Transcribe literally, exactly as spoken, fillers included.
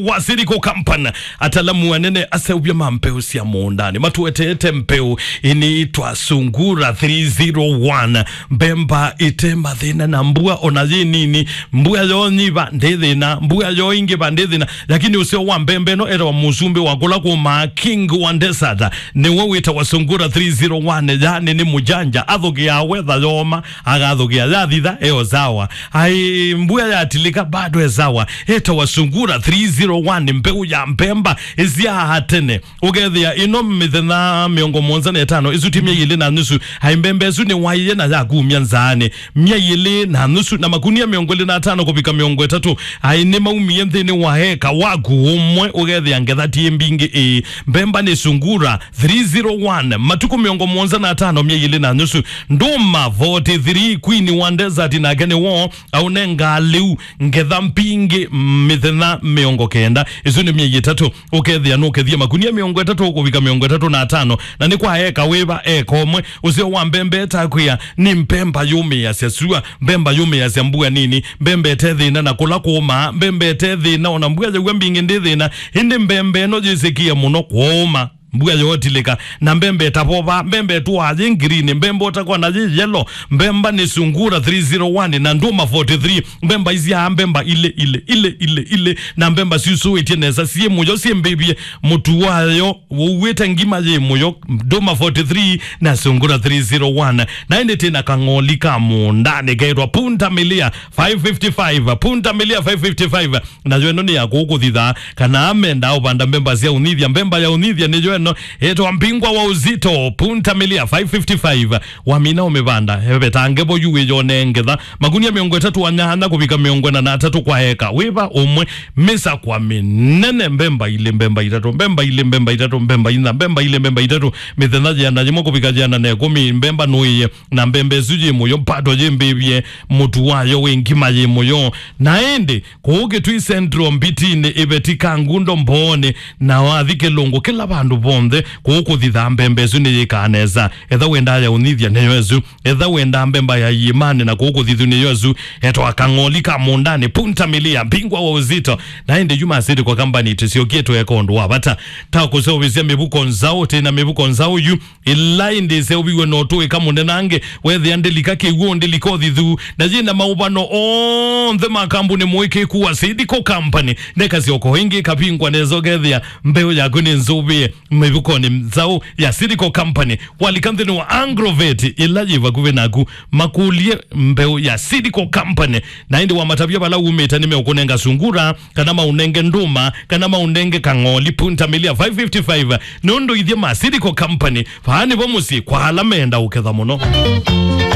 wa Seed Co Company, atalamu anene aseũvya ma mbeũ sya mũũndanĩ, matũeteete mbeũ ĩnĩĩtwa Sungura three zero one, mbemba ĩte mathĩna na mbua ona yĩ nini, mbua yonyiva ndĩ thĩna, mbua yoingĩva ndĩ thĩna, lakini ũseo wa mbemba ĩno etawa mũsumbĩ wa kũla kũmaa, king wa desert, nĩwe wĩtawa Sungura three zero one, yani nĩ mũjanja, athũkĩaa wetha yoma, agathũkĩa yathitha, eo sawa. Ai, mbua yatilĩka, bado e sawa. Etawa Sungura three zero one, mbeũ ya mbemba ĩsyaa tene. Ũkethĩa ĩno mĩthenya mĩongo mũonza na ĩtano, ĩsu ti myei ĩlĩ na nusu. Ai, mbemba ĩsu nĩwaie na yakumya nzaanĩ. Myei ĩlĩ na nusu na makunia mĩongo ĩlĩ na atano kũvika mĩongo ĩtatũ. Ai, nĩmaumie nthĩnĩ wa eka waku ũmwe, ũkethĩa ngetha ti mbingĩ ĩĩ. Mbemba nĩ Sungura three zero one, matukũ mĩongo mũonza na atano, myei ĩlĩ na nusu. Ndũma forty three, Queen wa Desert, nake nĩwo aũnengaa lĩu ngetha mbingĩ mĩthenya mĩongo kenda. Ĩsu nĩ myei ĩtatũ, ũkethĩa nũkethie makunia mĩongo ĩtatũ kũvika mĩongo ĩtatũ na atano, na nĩ kwa eka wĩva? Eka ũmwe. Ũseo wa mbemba ĩtakwĩa nĩ mbemba yũmĩĩasya sua, mbemba yũmĩĩasya mbua nini, mbemba ĩte thĩna na kũla kũũmaa, mbemba ĩte thĩna ona mbua yaua mbingĩ ndĩ thĩna, ĩndĩ mbemba ĩno yĩsĩkĩe mũno kũũma. Mbua yootilĩka, na mbemba ĩtavova, mbemba ĩtũaa yĩ ngirini, mbemba ũtakwa na yĩ yelo, mbemba nĩ Sungura three zero one na Ndũma forty three, mbemba isyaa mbemba ilĩ, ilĩ, ilĩ, ilĩ, ilĩ, na mbemba syusũĩtye nesa, syĩ mũyo, syĩ mbĩvye, mũtu wayo ũuĩte ngima yĩ mũyo, Ndũma forty three na Sungura three zero one. Na ĩndĩ twĩ na kang'oli ka mũũndanĩ keetwa Punta Milia five fifty-five, Punta Milia five fifty-five. Nayo ĩno nĩ ya kũkũthitha, kana amenda ũvanda mbemba sya ũnithya. Mbemba ya ũnithya nĩyo ĩno, ĩtwa Mbingwa wa Uzito, Punta Milia five fifty-five. Wamina ũmĩvanda, evetange vo yu wĩyone ngetha. Makunia mĩongo ĩtatũ na nyanya kũvika mĩongo ĩna na atatũ kwa eka. Wĩva ũmwe, mĩsakwa mĩnene, mbemba ilĩ, mbemba itatũ, mbemba ilĩ, mbemba itatũ, mbemba inya, mbemba ilĩ, mbemba itatũ, mĩthenya yĩana yĩmwe kũvika yĩana na ĩkũmi, mbemba nũĩe. Na mbemba ĩsu yĩ mũyo, bado yĩ mbĩvye, mũtu wayo wĩ ngima yĩ mũyo. Na ĩndĩ, kũu Kĩtui Central, Mbitinĩ, Iveti, Kangundo, Mbooni, na wathi Kĩlũngũ, kĩla vandũ vonthe, kũu kũthithaa mbemba ĩsu nĩyĩkaa nesa. Etha wendaa ya ũnithya nĩyo ĩsu. Etha wendaa mbemba ya iĩmanĩ na kũu kũthithu nĩyo ĩsu. Etwa kang'oli ka mũũndanĩ, Punta Milia, Mbingwa wa Uzito. Na ĩndĩ yu ma Seed Co Company tũsyokie tũeka ũndũ wa vata. Ta kũseũvĩsya mĩvuko nzaũ, twĩ na mĩvuko nzaũ yu. Ĩla ĩndĩ ĩseũviw'e na ũtũĩka mũnenange, wethĩa ndĩlika kĩw'ũ, ndĩlika ũthithu, na yĩ na maũvano onthe ma kambuni mũĩkĩĩku wa Seed Co Company. Neka syoko ĩngĩ ĩkavingwa nesa, ũkethĩa mbeũ yaku nĩ nzũvĩe mĩvukonĩ nzaũ ya Seed Co Company. Walika nthĩnĩ wa Agrovet ĩla yĩ vakuvĩ naku, makũlye mbeũ ya Seed Co Company. Na ĩndĩ wamatavya vala umĩte, nĩmeũkũnenga Sungura, kana maũnenge Ndũma, kana maũnenge kang'oli, Punta Milia five fifty-five, nũndũ ithyĩ ma Seed Co Company, vaa nĩvo mũsyĩ kwa ala menda ũketha mũno.